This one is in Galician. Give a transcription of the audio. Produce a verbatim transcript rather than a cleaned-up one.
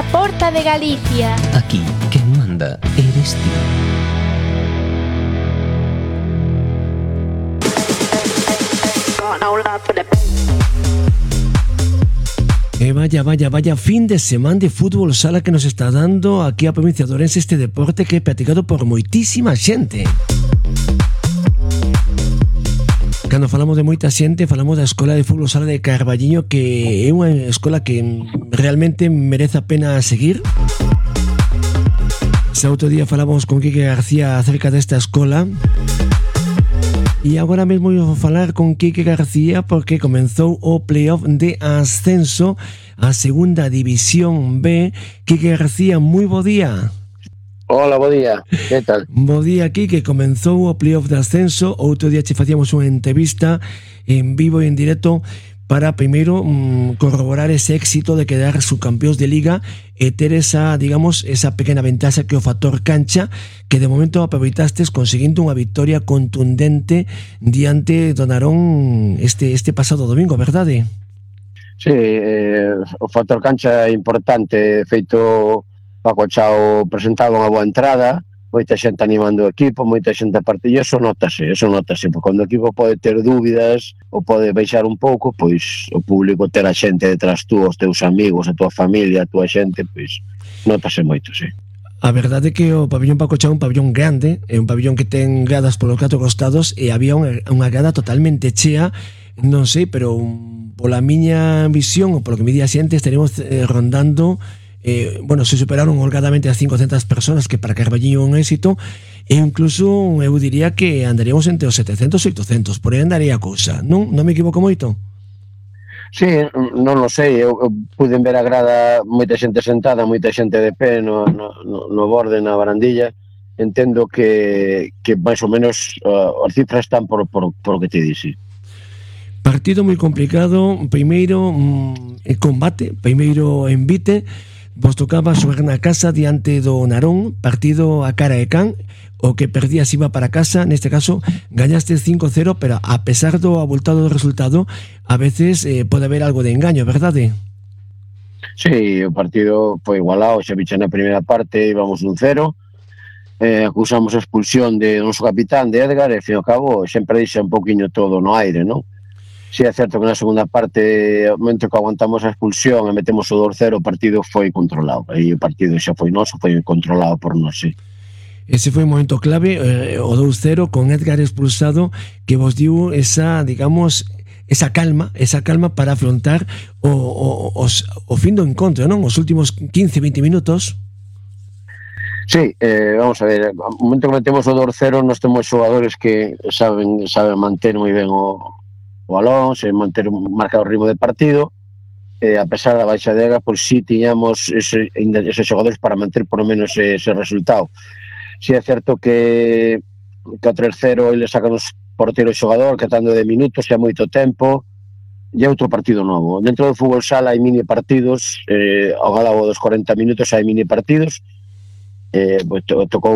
A Porta de Galicia. Aquí, quen manda eres ti. E vaya, vaya, vaya fin de semana de fútbol sala que nos está dando aquí a provincia de Ourense, este deporte que é practicado por moitísima xente. Cando falamos de moita xente, falamos da Escola de Fútbol Sala de Carballiño, que é unha escola que realmente merece a pena seguir. Ese outro día falamos con Quique García acerca desta escola. E agora mesmo vou falar con Quique García porque comenzou o playoff de ascenso a segunda división B. Quique García, moi bo día. Hola, bo día, que tal? Bo día, Quique, comenzou o playoff de ascenso. Outro día che facíamos unha entrevista en vivo e en directo para primeiro mmm, corroborar ese éxito de quedar subcampeóns de Liga e ter esa, digamos, esa pequena ventaxa que o factor cancha, que de momento aproveitastes conseguindo unha victoria contundente diante do Narón este, este pasado domingo, verdade? Sí, eh, o factor cancha é importante. Feito, Paco Chao presentaba unha boa entrada, moita xente animando o equipo, moita xente a partir, e eso notase, eso notase, porque cando o equipo pode ter dúbidas ou pode baixar un pouco, pois o público ter a xente detrás tú, os teus amigos, a tua familia, a tua xente, pois notase moito, sí. A verdade é que o pabillón Paco Chao é un pabillón grande, é un pabillón que ten gradas polos catro costados e había unha, unha grada totalmente chea, non sei, pero um, pola miña visión ou polo que me di a xente estaremos eh, rondando Eh, bueno, se superaron holgadamente as cincocentas personas, que para Carballiño é un éxito, e incluso eu diría que andaríamos entre os setecentos e oitocentos, por aí andaría a cousa, non? Non me equivoco moito? Sí, non lo sei, eu, eu pude ver a grada, moita xente sentada, moita xente de pé no, no, no borde, na barandilla. Entendo que, que máis ou menos uh, as cifras están por, por, por o que te dixi. Partido moi complicado, primeiro mm, combate, primeiro envite. Vos tocaba xogar na casa diante do Narón, partido a cara e can, o que perdías iba para casa. Neste caso gañaste cinco cero, pero a pesar do abultado do resultado, a veces eh, pode haber algo de engaño, verdade? Sí, o partido foi igualado, xa bicha na primeira parte, íbamos un cero, eh, acusamos a expulsión de noso capitán, de Edgar, e, fin ao cabo, sempre deixa un poquinho todo no aire, non? Si é certo que na segunda parte, ao momento que aguantamos a expulsión e metemos o dos cero, o partido foi controlado. E o partido xa foi noso, foi controlado por nós, sí. Ese foi un momento clave, eh, o dos cero con Edgar expulsado, que vos diu esa, digamos, esa calma, esa calma para afrontar o, o, os, o fin do encontro, non? Os últimos quince veinte minutos. Sí, eh, vamos a ver, ao momento que metemos o dos cero, nós temos xogadores que saben, saben manter moi ben o o balón, se manter un marcado ritmo de partido, eh, a pesar da baixa de Ega, pois si tiñamos ese, esos xogadores para manter por lo menos ese, ese resultado. Si é certo que que o tres cero ele sacan os porteros xogador, catando de minutos, e moito tempo, e é outro partido novo. Dentro do fútbol sala hai mini partidos, eh, ao galabo dos cuarenta minutos hai mini partidos, eh, pues, tocou